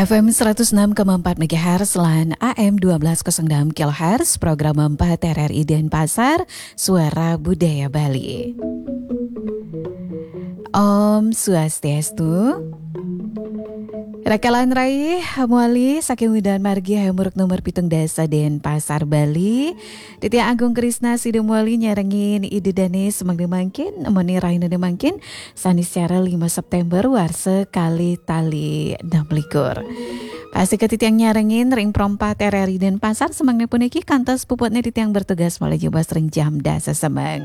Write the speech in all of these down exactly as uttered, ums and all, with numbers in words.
F M seratus enam koma empat megahertz lan A M dua belas kosong enam kilohertz, program empat R R I Denpasar, Suara Budaya Bali. Om Swastiastu. Rakalan rai, muali saking Widan Margi Hayam Wuruk nomor pitung dasa Denpasar, Bali. Titiang Agung Krisna sida muali nyarengin Ida Dane semeng mangkin, meni rahina mangkin, Saniscara lima September warsa kalih tali enam likur. Pastika titiang nyarengin ring Pro empat R R I Denpasar semeng puniki kantos puputne titiang bertugas malih jebos ring jam dasa semeng.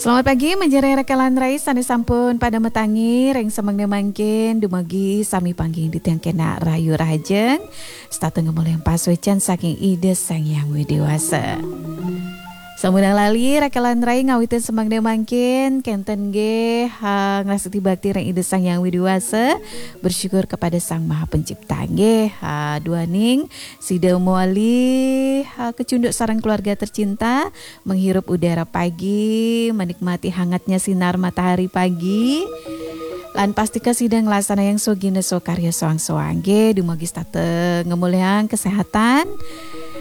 Selamat pagi, majeng ring rakalan rai sane sampun pada matangi ring semeng mangkin, dumugi sami panggihin titiang kenak rahayu rahajeng, setata ngamolihang pasuecan saking Ida Sang Hyang Widi Wasa. Sampunang lali, rakalan rai ngawitin semeng mangkin, kenten nggih, ha, ngrastiti bakti ring Ida Sang Hyang Widi Wasa, bersyukur kepada Sang Maha Pencipta nggih, ha, duaning sida muali, ha, kecunduk sareng keluarga tercinta, menghirup udara pagi, menikmati hangatnya sinar matahari pagi. Lan pastika sida nglaksana yang sogina sokarya soang-soang nggih, dumugi setata ngamolihang kesehatan,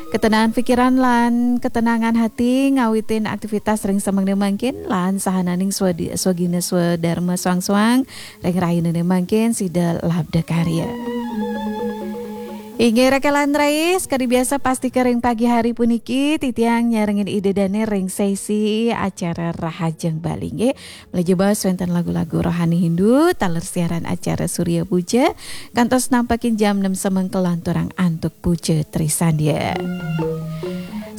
ketenangan pikiran lan ketenangan hati ngawitin aktivitas ring semeng mangkin lan sahananing swadi-, swagina swadarma soang-soang ring rahina mangkin sida labda karya. Inggih rakalan rai, sekadi biasa pastika ring pagi hari puniki titiang nyarengin Ida Dane ring sesi acara Rahajeng Bali nggih. Malih jebos wenten lagu-lagu rohani Hindu, taler siaran acara Surya Puja, kantos nampakin jam enam semeng kalanturang antuk Puja Trisandya.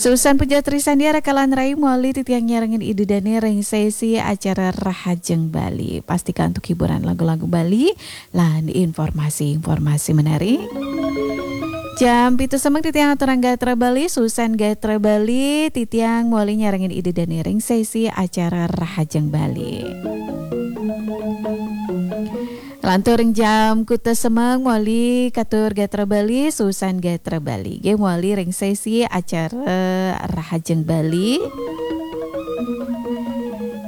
Susan Puja Trisandya rakalan rai muali titiang nyarengin Ida Dane ring sesi acara Rahajeng Bali. Pastika antuk hiburan lagu-lagu Bali lan informasi-informasi menarik. Jam pitu semeng titiang aturang gatra Bali, Susan gatra Bali, titiang muali nyarengin Ida Dane ring sesi acara Rahajeng Bali. Lantur ring jam kutus semeng muali katur gatra Bali, Susan gatra Bali. Nggih muali ring sesi acara Rahajeng Bali.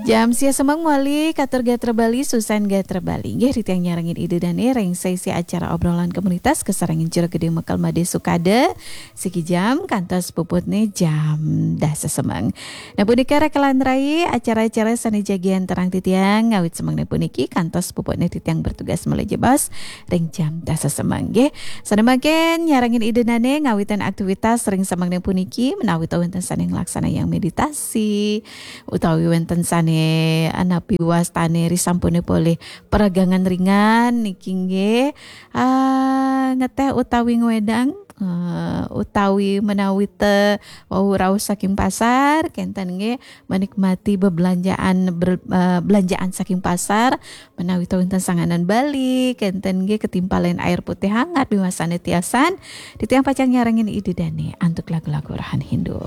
Jam sia semeng muali katur gatra Bali, Susan gatra Bali. Nggih, titiang nyarengin Ida Dane ring sesi acara obrolan komunitas kasarengin Jero Gede Mekel Made Sukada, siki jam kantos puputne jam dasa semeng. Nah, punika rakalan rai acara-acara sane jagi antarang titiang ngawit semeng puniki kantos puputne titiang bertugas malih jebos ring jam dasa semeng nggih. Sane mangkin nyarengin Ida Dane ngawitin aktivitas ring semeng puniki menawi ta wenten sane nglaksanayang meditasi utawi wenten sane anapi wastane risampune polih peregangan ringan niki nggih. Ah, ngeteh utawi ngwedang, eh, utawi menawi te wau rauh saking pasar, kenten nggih menikmati bebelanjaan ber-, eh, belanjaan saking pasar, menawi te wenten sanganan Bali, kenten nggih ketimpalen air putih hangat biwasane tiasan, titiang pacang nyarengin Ida Dane antuk lagu-lagu rohani Hindu.